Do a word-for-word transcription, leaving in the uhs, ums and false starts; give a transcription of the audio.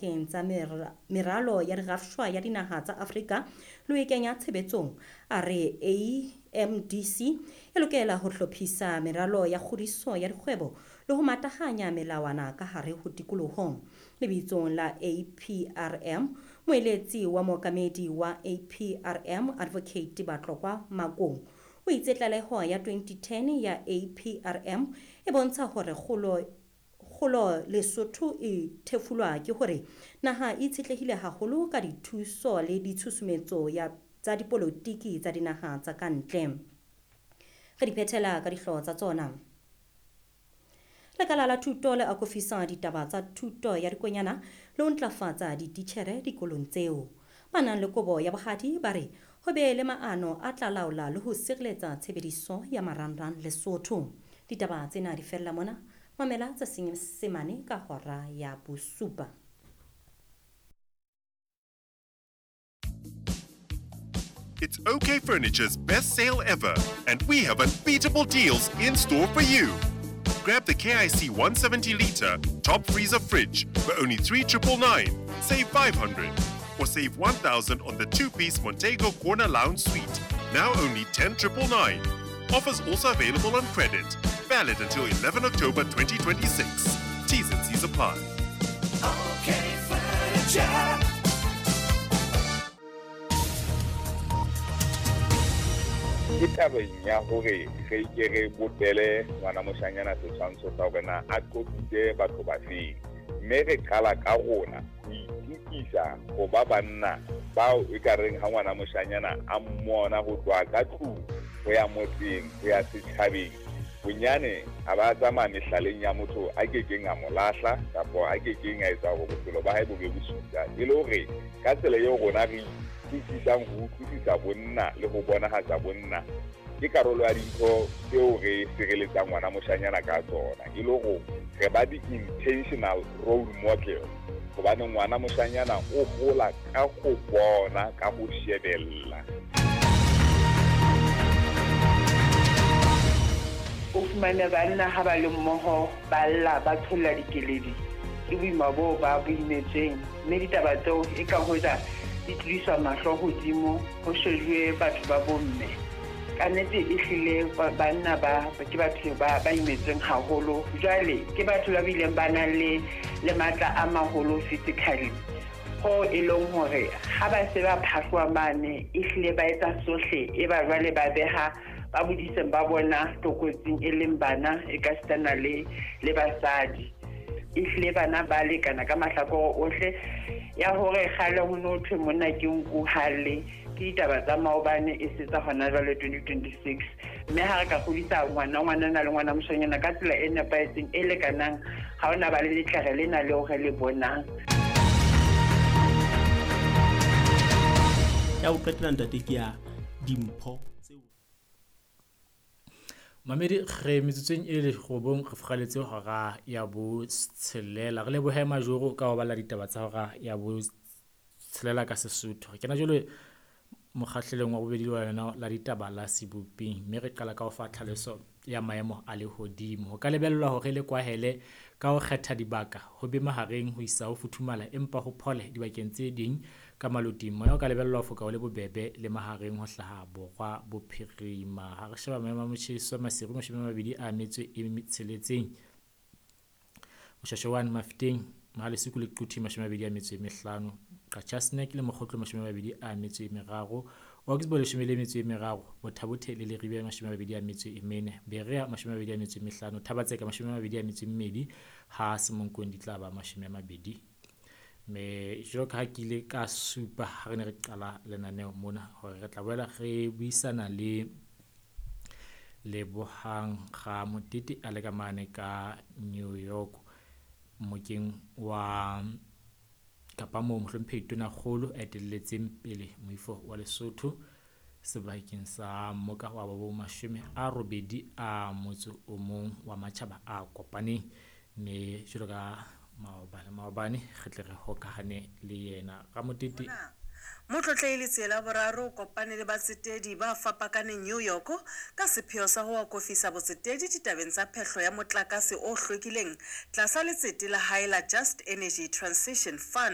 Tsa meralo ya dirafshwa ya dinaha tsa Afrika le ho e kenya tshebetsong. A re A M D C e lokela ho hlophisa meralo ya kgodiso ya dikgwebo le ho matahanya melawana ka hare ho tikoloho. Lebitsong la A P R M, moeletsi wa mookamedi wa A P R M Advocate Batlokwa Makong o itse tlaleho ya twenty ten ya A P R M e bontsha hore kgolo kgolo Lesotho e thefulwa ke hore naha e itshetlehile haholo ka dithuso le ditshusumetso ya tsa dipolotiki tsa dinaha tsa ka ntle. Re di phethela ka dihlooho tsa tsona. Lekala la thuto le akofisa ditaba tsa thuto ya dikonyana le ho ntlafatsa dititjhere dikolong tseo. Ba nang le kobo ya bohadi ba re ho be le maano a tla laola le ho sireletsa tshebediso ya marangrang Lesotho. Ditaba tsena di fella mona. Mamela tsa Senyesemane ka hora ya bosupa. It's OK Furniture's best sale ever, and we have unbeatable deals in store for you. Grab the K I C one seventy litre top freezer fridge for only three triple nine, save five hundred, or save one thousand on the two-piece Montego Corner Lounge Suite, now only ten triple nine. Offers also available on credit. Valid until eleven October twenty twenty-six. T's and C's apply. Okay, furniture. Ke tabeng ya hore re ke re bopele ngwana moshanyana setshwantsho sa hore na a qobitse batho ba feng, mme re qala ka rona ho itukisa ho ba banna bao e ka reng ha ngwana moshanyana a mmona ho tloha ka tlung ho ya motseng ho ya setjhabeng, bonyane a ba tsamaya mehlaleng ya motho a kekeng a mo lahla kapa a kekeng a etsa hore bophelo ba hae bo be bosula. E le hore ka tsela eo rona re utlwisisang ho utlwisisa bonna le ho bonahatsa bonna ke karolo ya dintho tseo re sireletsang ngwana moshanyana ka tsona, e le hore re ba di-intentional role model, hobane ngwana moshanyana o hola ka ho bona, ka ho shebella. O fumane banna ha ba le mmoho ba lla ba tsholla dikeledi ke boima boo ba bo imetsweng, mme ditaba tseo e ka hoja di tlodiswa mahlo hodimo ho shejuwe batho ba bomme. Ka nnete e hlile banna ba ke batho ba ba imetsweng haholo, jwale ke batho ba bileng ba nang le le matla a maholo physically, ho e leng hore ha ba se ba phahloa mane e hlile ba etsa sohle e ba jwale ba beha ba bodiseng ba bona tlokotsing e leng bana e ka sitana le le basadi. E hlile bana ba lekana ka mahlakore ohle ya hore kgale ho no thwe monna ke nku hale ke ditaba tsa maobane e se tsa hona jwale twenty twenty-six. Mme ha re ka kgodisa ngwana ngwanana le ngwana moshanyana ka tsela e nepahetseng e lekanang, ha hona ba le letlere lena leo re le bonang. Ya ho qetela ntate ke ya dimpho. Mamedi re metsotsong e le robong re furaletse hora ya botshelela. Re lebohe Majoro ka ho bala ditaba tsa hora ya botshelela ka Sesotho. Re kena jwale mokgahlelong wa bobedi wa yona la ditaba la Seboping, mme re qala ka ho fa tlhaloso ya maemo a lehodimo. Ho ka lebellwa hore le kwahele ka ho kgetha dibaka ho be mahareng ho isa ho futhumala, empa ho phole dibakeng tse ding ka maloting. Moya o ka lebellwa ho foka o le bobebe le mahareng ho hlaha borwa bophirima. Ha re sheba maemo a motjheso, Maseru mashome a mabedi a metso e tsheletseng, Moshashoane Mafeteng Mahalesiku le Quthi mashome a mabedi a metso e mehlano, Qacha's Nek le Mokgotlo mashome a mabedi a metso e meraro, Oxbow leshome le metso e meraro, Bothabothe le Leribe mashome a mabedi a metso e mene, Berea mashome a mabedi a metso e mehlano, Thabatseka mashome a mabedi a metso e mmedi, ha Semonkong di tla ba mashome a mabedi. Mme jwalo ka ha ke ile ka supa ha re ne re qala lenaneo mona hore re tla boela re buisana le Lebohang Ramotete a le ka mane ka New York mokeng wa kapa moo mohlomphehi Tonakgolo a etelletseng pele moifo wa Lesotho sebakeng sa mmoka wa bo mashome a robedi a motso o mong wa matjhaba a kopaneng. Mme jwalo ka maobane maobane re tle re hokahane le yena Ramotete. Motlotlehi Letsie la Boraro o kopane le batsetedi ba fapakaneng New York ka sepheo sa ho akofisa botsetedi ditabeng tsa phehlo ya motlakase o hlwekileng tlasa letsete la hae la Just Energy Transition Fund.